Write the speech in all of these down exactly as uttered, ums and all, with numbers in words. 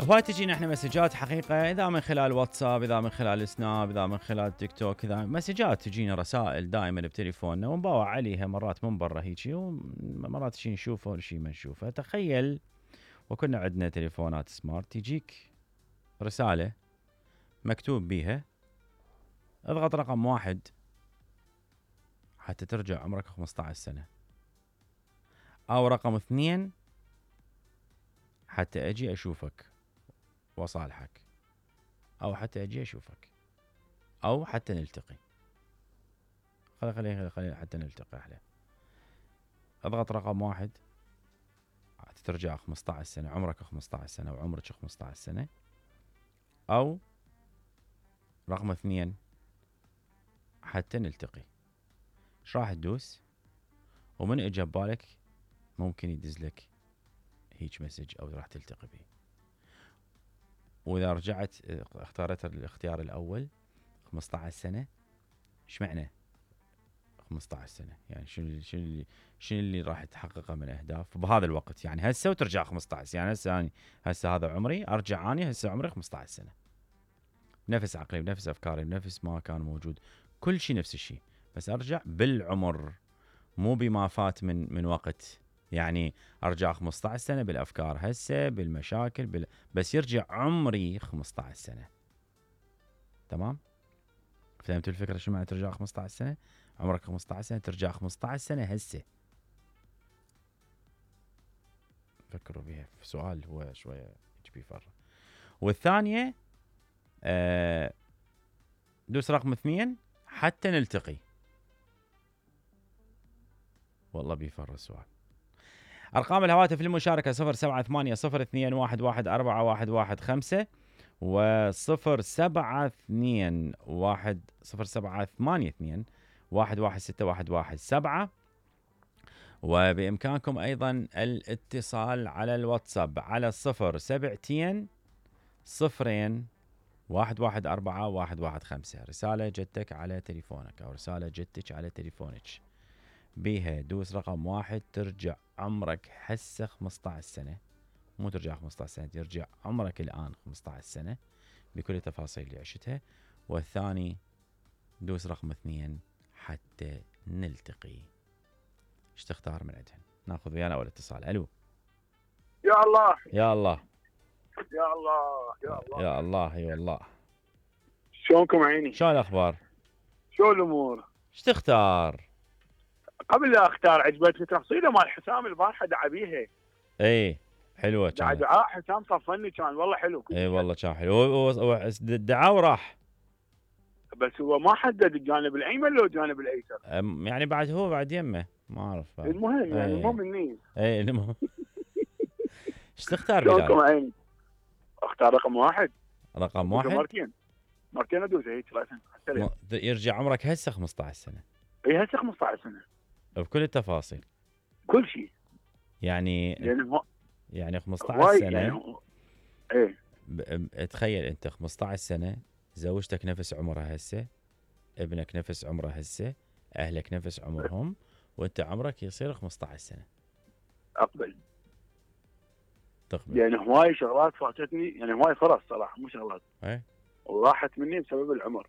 هواي تجينا احنا مسجات حقيقه، اذا من خلال واتساب، اذا من خلال سناب، اذا من خلال تيك توك، اذا مسجات تجينا رسائل دائما بتليفوننا ونباوع عليها مرات من برا هيجي، ومرات شي نشوفه وشي ما نشوفه. تخيل وكنا عندنا تليفونات سمارت تجيك رساله مكتوب بيها اضغط رقم واحد حتى ترجع عمرك خمسة عشر سنه، او رقم اثنين حتى اجي اشوفك وصالحك، او حتى اجي اشوفك، او حتى نلتقي. خلي خلي خلي حتى نلتقي احلى. اضغط رقم واحد حتى ترجع خمسة عشر سنه، عمرك خمسة عشر سنه وعمرك خمسة عشر سنه، او رقم اثنين حتى نلتقي. ايش راح تدوس؟ ومن اجى ببالك ممكن يدز لك هيج مسج او راح تلتقي به. واذا رجعت اختارت الاختيار الاول خمسة عشر سنه، ايش معنى خمسة عشر سنه؟ يعني شنو شنو اللي شنو اللي راح تحققه من اهداف بهذا الوقت؟ يعني هسه وترجع خمسة عشر، يعني هسه اني هسه هذا عمري، ارجع اني هسه عمري خمسة عشر سنه، بنفس عقلي بنفس افكاري بنفس ما كان موجود، كل شيء نفس الشيء، بس ارجع بالعمر مو بما فات من من وقت. يعني ارجع خمسة عشر سنه بالافكار هسه بالمشاكل بال... بس يرجع عمري خمسة عشر سنه. تمام؟ فهمت الفكره شو معنى ترجع خمسة عشر سنه؟ عمرك خمسة عشر سنه ترجع خمسة عشر سنه هسه. فكروا بها في سؤال هو شويه يجي فرق. والثانيه آه دوس رقم اثنين حتى نلتقي. والله بيفر السؤال. أرقام الهواتف للمشاركة صفر سبعة ثمانية صفر اثنين واحد واحد أربعة واحد واحد خمسة وصفر سبعة اثنين واحد صفر سبعة ثمانية اثنين واحد واحد ستة واحد واحد سبعة. وبإمكانكم أيضا الاتصال على الواتساب على صفر سبعتين صفرين واحد واحد أربعة واحد واحد خمسة. رسالة جتك على تليفونك أو رسالة جتك على تليفونك بيها دوس رقم واحد ترجع عمرك هسه خمسة عشر سنة، مو ترجع خمسة عشر سنة، ترجع عمرك الآن خمسة عشر سنة بكل التفاصيل اللي عشتها. والثاني دوس رقم اثنين حتى نلتقي. ايش تختار من عندهن؟ ناخذ ويانا اول اتصال. الو. يا الله يا الله يا الله يا الله يا الله اي والله. شلونكم عيني؟ شو الاخبار؟ شو الامور؟ ايش تختار؟ قبل لا اختار عجبتني تفصيله مال حسام البارحه دعا بيها. اي حلوه دعا كانت. دعاء حسام صفني كان والله حلو. اي والله كان حلو. الدعاء وراح، بس هو ما حدد الجانب الايمن لو الجانب الايسر. يعني بعد هو بعد يمه ما اعرف. المهم يعني المهم مني. اي المهم. ايش تختار شلونكم بلال؟ عيني؟ اختار رقم واحد. رقم واحد مرتين مرتين ادوس هيك راسا م... يرجع عمرك هسه خمسة عشر سنه. اي هسه خمسة عشر سنه بكل التفاصيل كل شيء. يعني يعني هو يعني خمسة عشر سنه يعني هو... ايه ب... تخيل انت خمسة عشر سنه، زوجتك نفس عمرها هسه، ابنك نفس عمره هسه، اهلك نفس عمرهم، وانت عمرك يصير خمسة عشر سنه. اقبل تقبل. يعني هواي شغلات فاتتني، يعني هواي فرص صراحه مو شغلات اي وراحت مني بسبب العمر.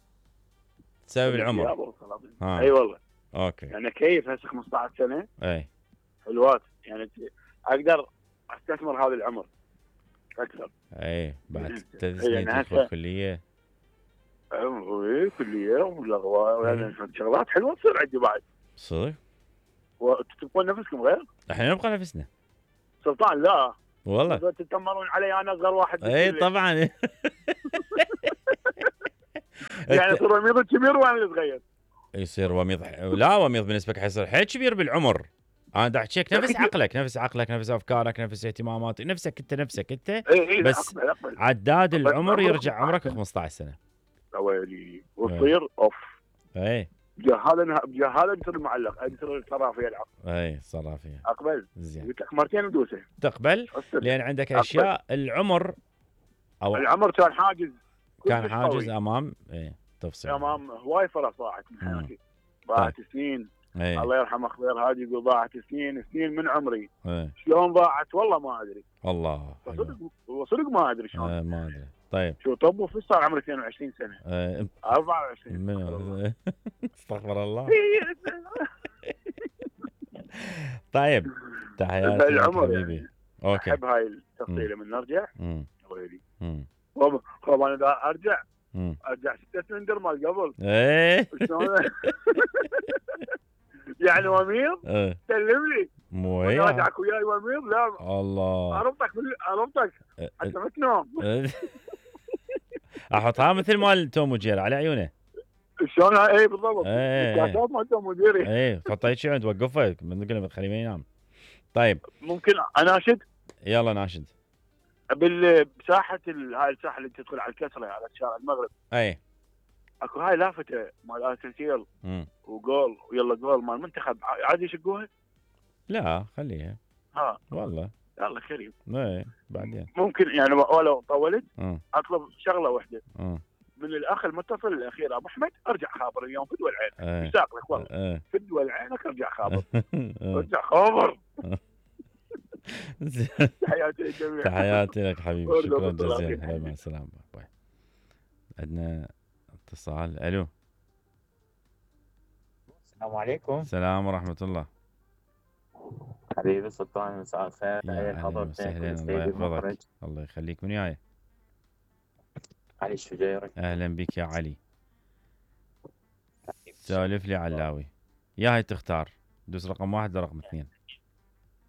بسبب العمر. اي أيوة والله. اوكي. يعني كيف هسه خمسة عشر سنه اي حلوات، يعني اقدر استثمر هذا العمر اكثر. اي بعد يعني ثلاث سنين يعني تدخل كليه. اي كليه ولا يعني شغلات حلوه تصير عندي بعد. صدق؟ وتبقون نفسكم غير؟ احنا نبقى نفسنا. سلطان لا والله تتمرون علي انا اصغر واحد. اي طبعا. يعني يصير وميض كبير وانا صغير. يصير وميض. لا وميض بالنسبه لك حيصير حيل كبير بالعمر. انا دا احكيك نفس عقلك نفس عقلك نفس افكارك نفس اهتماماتك نفسك انت نفسك انت. إيه إيه بس أقبل أقبل. عداد العمر يرجع عمرك خمسة عشر سنه. ويلي وتصير اوف. اي بهذا بهذا يصير المعلق يصير الصرافيه العقل. اي صرافيه. اقبل. زين. قلت لك مرتين ودوسه. تقبل لان عندك اشياء أقبل. العمر او العمر كان حاجز. كان حاجز امام اي تفصيل. امام هواي فرص ضاعت من حياتي. ضاعت سنين. أي. الله يرحمه خضير هادي يقول ضاعت سنين سنين من عمري. أي. شلون ضاعت والله ما ادري. الله صدق والله صدق ما ادري شلون. آه ما ادري. طيب شو طب وفي صار عمري اثنين وعشرين سنه. آه أربعة وعشرين. من استغفر الله. طيب تحياتي لك العمر حبيبي. يعني. اوكي. احب هاي التفصيله من نرجع. امم ويلي امم خب انا دا ارجع امم ارجع ستة سلندر مال قبل. ايه شلون؟ يعني وميض ايه سلم لي مو وانا وياه. راجعك وياي وميض. لا الله. اربطك بال- اربطك حتى ما تنام. احطها مثل مال توم وجيري على عيونه. شلون؟ اي بالضبط. إيه. الكاسات مالته مديري. ايه حطها هيك عند توقفه من قبل ما تخليه ما ينام. طيب ممكن اناشد يلا ناشد. بال- بساحه ال- هاي الساحه اللي تدخل على الكسره على شارع المغرب. اي اكو هاي لافته مال ارتسيل امم وجول ويلا جول مال المنتخب عادي يشقوها. لا خليها ها والله. يلا كريم. ايه بعدين. ممكن يعني ولو طولت امم اطلب شغله واحده امم من الاخ المتصل الاخير ابو احمد. ارجع خابر اليوم فدوى العين. ايه مشتاق لك والله. ايه فدوى العينك ارجع خابر. ارجع خابر. تحياتي للجميع. تحياتي لك حبيبي. برضه شكرا بالطلاق. جزيلا. هلا مع السلامه. باي. عندنا اتصال. الو. السلام عليكم. السلام ورحمه الله. حبيبي سلطان مساء الخير. يا تحية اهلا حضرتك وسهلا. الله والسيد المخرج يحفظك. الله يخليك. من وياي؟ علي الشجيري. اهلا بك يا علي. سالف لي علاوي. يا هاي تختار دوس رقم واحد لرقم اثنين.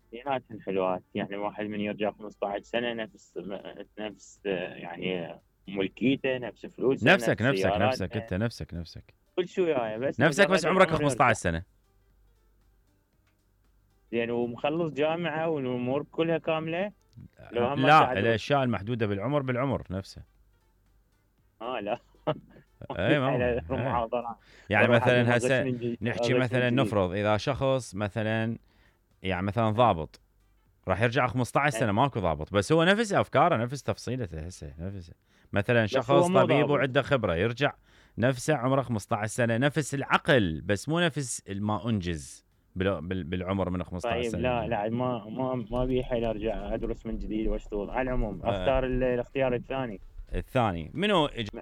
اثنيناتهم حلوات، يعني واحد من يرجع خمسة عشر سنة نفس نفس يعني ملكيته، نفس فلوسه، نفسك نفس نفسك سياراتنا، نفسك انت نفسك نفسك كل شيء وياي، بس نفسك بس مجرد عمرك العمر خمسة عشر يرجع. سنه. زين ومخلص جامعة والامور كلها كاملة. لو هم لا قاعد- الاشياء المحدوده بالعمر بالعمر نفسه. اه لا اي ما هو. على إيه. المحاضرة. يعني بروح مثلا أقوم هسه أغش من جديد- نحكي أغش مثلا من جديد. نفرض اذا شخص مثلا يعني مثلا ضابط راح يرجع خمسة عشر سنه ماكو ضابط، بس هو نفس افكاره نفس تفصيلته هسه نفسه. مثلا شخص هو مو طبيب ضابط. وعنده خبره يرجع نفسه عمره خمسة عشر سنه، نفس العقل بس مو نفس ما انجز بال- بال- بالعمر من خمسة عشر طيب سنه. لا لا ما ما ما بي حيل ارجع ادرس من جديد واشتغل. على العموم اختار ال- الاختيار الثاني. الثاني منو إج-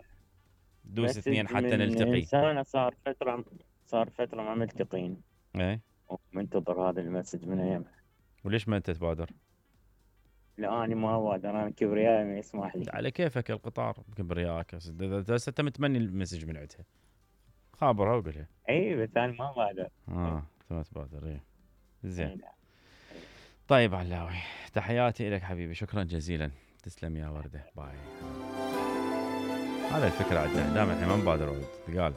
دوس بس اثنين حتى من نلتقي. سنة صار فترة صار فترة ما ملتقين، ايه ومنتظر هذا المسج من ايام. وليش ما انت تبادر؟ لا انا ما بقدر، انا كبريائي ما يسمح لي. على كيفك القطار كبرياءك. اذا هسه انت متمني المسج من عندها خابرها وقولها. اي بس انا ما بقدر. اه انت ما تبادر. ايه زين. إي لا. طيب علاوي تحياتي لك حبيبي. شكرا جزيلا. تسلم يا ورده. باي. هذا الفكره عندنا دائما احنا ما نبادر ولد قال